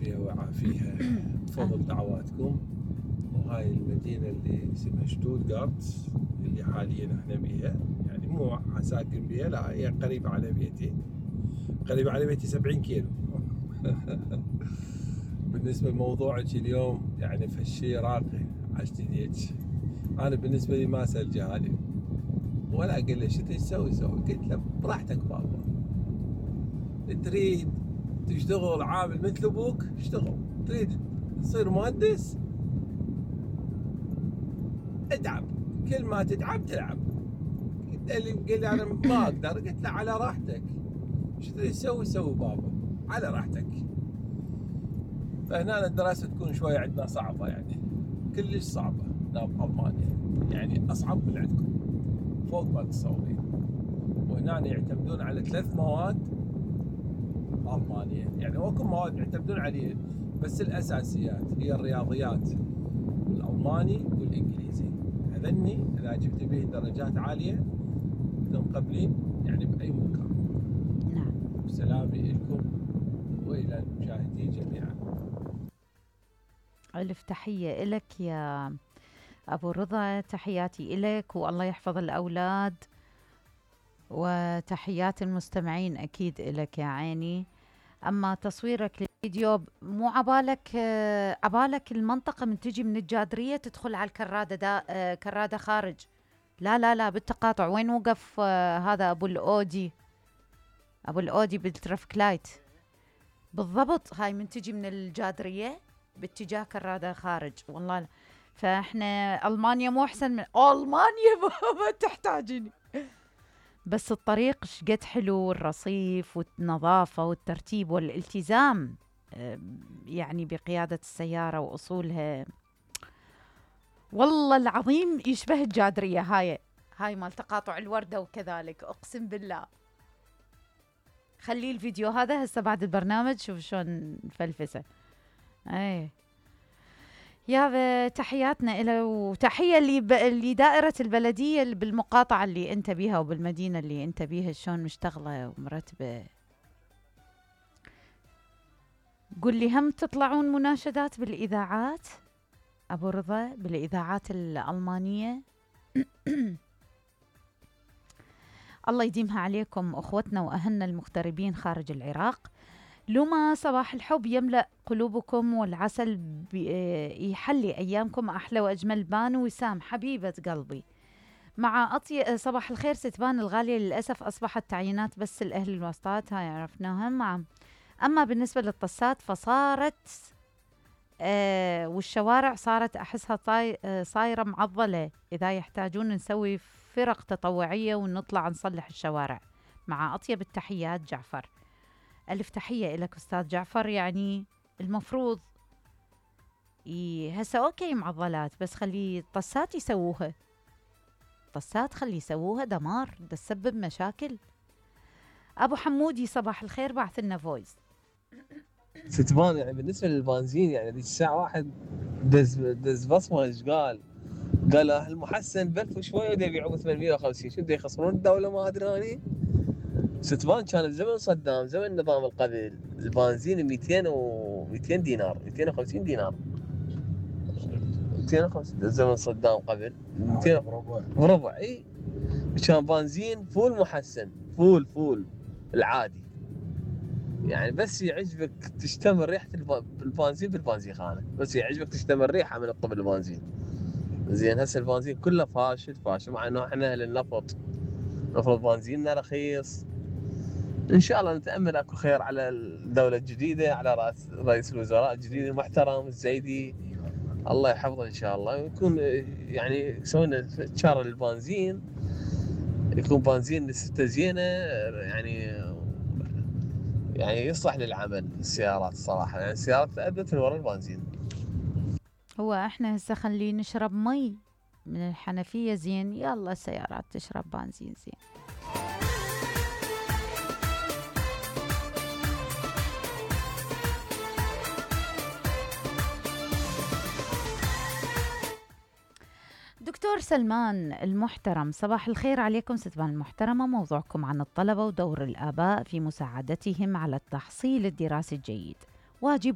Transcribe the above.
يعافيها ويعافيها بفضل دعواتكم. وهاي المدينة اللي اسمها شتوتغارت اللي حاليا احنا بيها، يعني مو ساكن بيها، لا هي قريبة على بيتي، قريبة على بيتي 70 كيلو. بالنسبة لموضوعك اليوم يعني فشي راقي عشتديك. انا بالنسبة لي ما اسأل جهالي ولا اقول له شو تسوي سوي، قلت له براحتك بابا، تريد تشتغل عامل مثل ابوك اشتغل، تريد تصير مهندس اتعب، كل ما تتعب تلعب. اللي قال لي انا ما اقدر، قلت له على راحتك، شو تريد تسوي سوي بابا على راحتك. فهنا الدراسة تكون شوية عندنا صعبة، يعني كلش صعبة هنا بألمانيا، يعني أصعب من عندكم فوق ما تتصورين. وهنا يعتمدون على 3 مواد ألمانيا، يعني اكو مواد يعتمدون عليه بس الأساسيات هي الرياضيات والألماني والإنجليزي. هذني إذا جبت به درجات عالية تنقبلين يعني بأي مكان. نعم. سلامي لكم وإلى المشاهدين جميعا. ألف تحية إلك يا أبو رضا، تحياتي إلك والله يحفظ الأولاد، وتحيات المستمعين أكيد إلك يا عيني. أما تصويرك للفيديو مو عبالك المنطقة من تجي من الجادرية تدخل على الكرادة كرادة خارج. لا لا لا بالتقاطع، وين وقف هذا أبو الأودي بالترافيك لايت بالضبط. هاي من تجي من الجادرية باتجاه كرادة خارج والله لا. فاحنا ألمانيا مو أحسن من ألمانيا. ما تحتاجيني، بس الطريق شقد حلو، الرصيف والنظافة والترتيب والالتزام يعني بقيادة السيارة وأصولها. والله العظيم يشبه الجادرية هاي مال تقاطع الوردة وكذلك، أقسم بالله. خلي الفيديو هذا هسه بعد البرنامج شوف شلون فلفسه. ايه يا تحياتنا إلى، وتحية اللي دائرة البلدية اللي بالمقاطعة اللي انت بيها وبالمدينة اللي انت بيها شلون مشتغلة ومرتبة. قل لي هم تطلعون مناشدات بالإذاعات أبو رضا، بالإذاعات الألمانية؟ الله يديمها عليكم أخوتنا وأهلنا المغتربين خارج العراق. لما صباح الحب يملأ قلوبكم والعسل يحلي أيامكم أحلى وأجمل. بانو وسام حبيبة قلبي مع صباح الخير ستبان الغالية، للأسف أصبحت تعيينات بس الأهل الوسطات، هاي عرفناها. أما بالنسبة للطسات فصارت والشوارع صارت أحسها صايرة معضلة. إذا يحتاجون نسوي فرق تطوعية ونطلع نصلح الشوارع. مع أطيب التحيات جعفر. ألف تحية إلك أستاذ جعفر. يعني المفروض هسه أوكي معضلات، بس خلي الطسات يسووها، طسات خلي يسووها، دمار ده تسبب مشاكل. أبو حمودي صباح الخير، بعث لنا فويس. ستبان يعني بالنسبة للبنزين يعني ذيك الساعة واحد دز بصمة ايش قال المحسن ب1000 وشوي ودا يبيعوه 850، شو بده يخسرون الدولة ما ادري اني. ستبان كان بزمن صدام، زمن النظام القبل، البنزين 200 دينار 250 دينار 250 زمن صدام قبل 200 بربع. اي كان بنزين فول محسن، فول العادي، يعني بس يعجبك تشتم ريحة البنزين بالبنزينخانة، بس يعجبك تشتم الريحة من الطب البنزين. زين هسه البنزين كله فاشل، مع انه احنا اهل النفط المفروض بنزيننا رخيص. ان شاء الله نتامل اكو خير على الدوله الجديده، على رئيس الوزراء الجديد المحترم الزيدي، الله يحفظه ان شاء الله، ويكون يعني يسوي شاره للبنزين، يكون بنزين لسته زينه، يعني يصلح للعمل السيارات الصراحه، يعني السيارات ادت من وراء البنزين. هو احنا هسه خلي نشرب مي من الحنفية زين، يلا السيارات تشرب بنزين زين. دكتور سلمان المحترم صباح الخير عليكم ستبان المحترمة. موضوعكم عن الطلبة ودور الآباء في مساعدتهم على التحصيل الدراسي الجيد. واجب